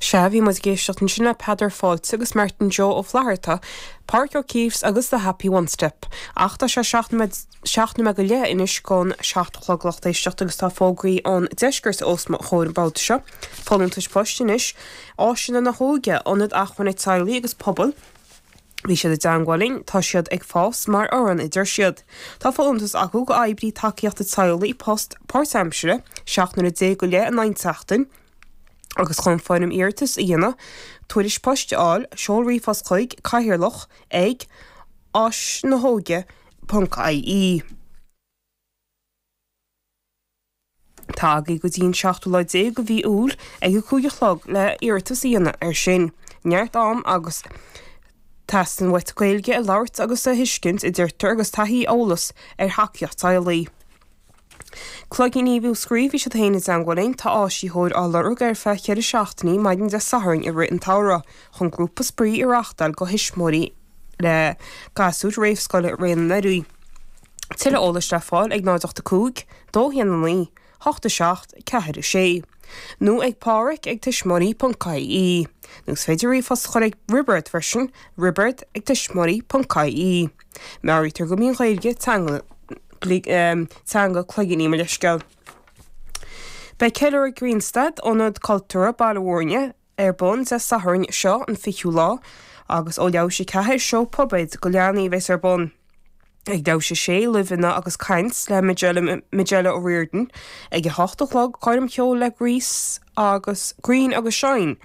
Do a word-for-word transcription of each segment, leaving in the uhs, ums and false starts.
Sea, bhí muid ag éisteacht ansin le Peadar Fáilte agus Martin Joe Ó Flatharta, Pádraic O'Keeffe agus The Happy One Step. Ach tá sé seacht nóiméad go leith anois chun seacht a chlog lucht éisteachta agus tá fógraí ón deisceart os mo chomhair an babhta seo. Folúntais poist anois, Áiseanna na hÓige, Ionad Acmhainne Teaghlaigh agus Pobail, Bhí siad i dteagmháil linn, tá siad ag fás mar fhoireann a deir siad. Tá folúntas acu go oibrí tacaíochta teaghlaigh post páirtaimseartha, seacht n-uaire déag go leith in aghaidh seachtain, agus chun foirm iarratais a dhéanamh, tuairisc poist a fháil, seol ríomhphost chuig cathaoirleach ag áisnahóige ponc ie. Tá agaibh go dtí an seachtú lá déag de mhí Iúil ag a cúig a chlog le iarratas a dhéanamh air sin. Neart am agus teastaíonn uait Gaeilge a labhairt agus a thuiscint a deirtear agus taithí eolas ar thacaíocht teaghlaigh. Cloigíní Mhúscraí, bhí siad féin i dteagmháil linn, tá áisitheoir á lorg ar feadh ceithre seachtainí maidin Dé Sathairn i rith an tsamhraidh chun grúpa spraoi a reáchtáil do thuismitheoirí le gasúir réamhscoile i rith an earraigh. Tuilleadh eolais le fáil ag náid ocht a cúig, dó haon a naoi, hocht a seacht, ceathair a sé. Nó ag Pádraic ag tuismitheoirí ponc ie. Nó is féidir ríomhphost a chur ag Roibeard freisin, roibeard ag tuismitheoirí ponc ie. Meabhraítear go mbíonn Gaeilge teanga teanga cloigíní mo leithscéal. Beidh ceiliúradh Grianstad, Ionad Cultúrtha Baile Mhúirne, ar bun Dé Sathairn seo, an fichiú lá, agus ó leathuair théis a ceathair, seó puipéid go leanaí a bheas ar bun. Ag leathuair théis a sé, luibheanna agus caint le Majella, Majella O'Riordan. Ag a hocht a chlog, coirm cheoil le Grease agus Green agus Shine.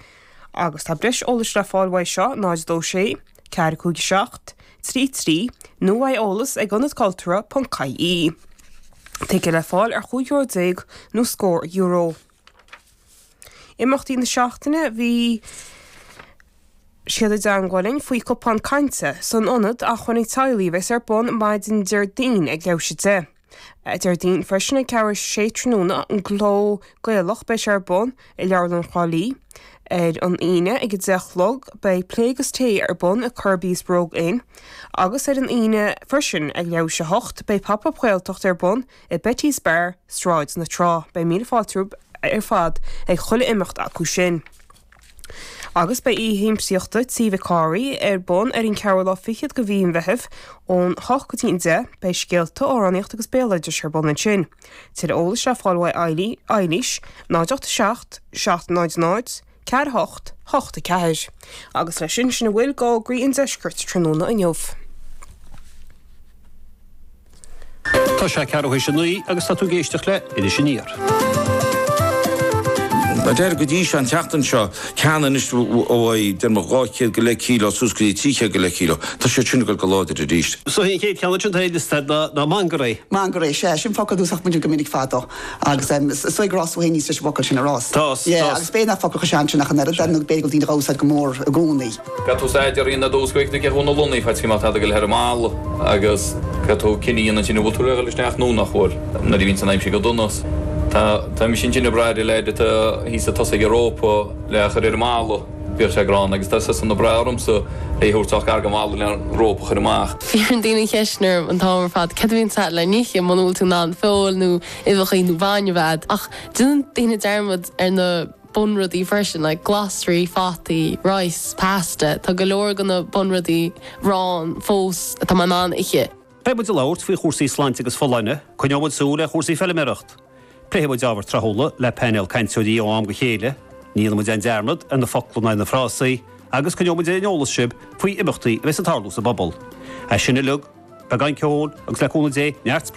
Agus tá breis eolais le fáil uaidh seo, náid dó sé, ceathair cúig seacht, trí trí, nó uaidh eolas ag ionad cultúrtha ponc ie. Ticéid le fáil ar chúig euro déag nó scór euro. Imeachtaí na seachtaine, bhí siad i dteagmháil linn faoi cupán cainte san ionad acmhainní teaghlaigh a bheas ar bun maidin Déardaoin ag leathuair théis a deich. Déardaoin freisin ag ceathrú théis a sé tráthnóna an Cló Gaelach beidh sé ar bun i Leabharlann Thrá Lí. Ar an Aoine ag a deich a chlog beidh Plé agus Tae ar bun i Kirby's Brogue Inn agus ar an Aoine freisin ag leathuair théis a hocht beidh Pop Up Gaeltacht ar bun i Betty's Bar, Sráid na Trá. Beidh míle fáilte romhaibh ar fad ag chuile imeacht acu sin. Agus beidh oíche shiamsaíochta Tí Mhic Cárthaigh ar bun ar an ceathrú lá fichead de mhí an Mheithimh ón hocht go dtí an deich. Beidh scéalta, amhránaíocht agus béaloideas ar bun ansin. Tuilleadh eolais le fáil uaidh Eilís, náid ocht a seacht, seacht náid náid, ceathair a hocht, hocht a ceathair. Agus leis sin, sin a bhfuil d'fhógraí an deiscirt tráthnóna inniu. Tá sé ceathrú théis a naoi agus tá tú ag éisteacht le Iris Aniar. Mar a deir go dtí seo an tseachtain seo, ceann anois ó déarfaidh mé dhá chéad go leith kíló suas go dtí trí chéad go leith kíló, tá siad sin ag dul go láidir arís. So an chéad cheann ansin atá ar liosta ná Mangairí. Mangairí, sea, sin focal a d'úsáid muid go minic fadó agus is dóigh gur fhás tú féin aníos leis an bhfocal sin a rá. Tá, tá. Yeah, agus b'fhéidir nach focal chomh sean sin ach an oiread, nó b'fhéidir go bhfuil daoine dhá úsáid go mór i gcónaí. Caithfidh tú staidéar a dhéanamh ar dtús go bhfeicfidh tú cé chomh na lonnaí fad is má tá tú ag dul thar an mballa agus caithfidh tú cinneadh a dhéanamh ansin an bhfuil tú le dhul isteach nó nach bhfuil. Nuair a bhíonns an aimsir go dona tá tá mise ansin ag brath ar an leaid atá thíos ag tosaigh ag an rópa le a chur ar an mballa bíodh sé gránna agus tá seisean ag brath ormsa é a thabhairt sách gar don bhalla le an rópa a chur amach. Iarrann daoine ceisteanna orm an t-am ar fad, céard a bhíonn agat le n-ithe, muna bhfuil tú in ann feoil nó uibheacha nó bainne a bheith agat. Ach déanann daoine dearmad ar na bunrudaí freisin, like glasraí, fataí, rice, pasta, tá go leor de na bunrudaí arán fós atá mé in ann ithe. Beidh muid ag labhairt faoi chúrsaí sláinte agus folláine, coinneoidh muid súil ar chúrsaí feilméireacht. Pléifidh muid ábhair tráthúla le painéal cainteoirí ó am go chéile, ní dhéanfaidh muid aon dearmad ar na focla ná ar na frásaí, agus coinneoidh muid ar an eolas sibh faoi imeachtaí a bheas ag tarlú sa bpobal. É sin uilig, beagán ceoil agus le cúnamh Dé, neart spraoi!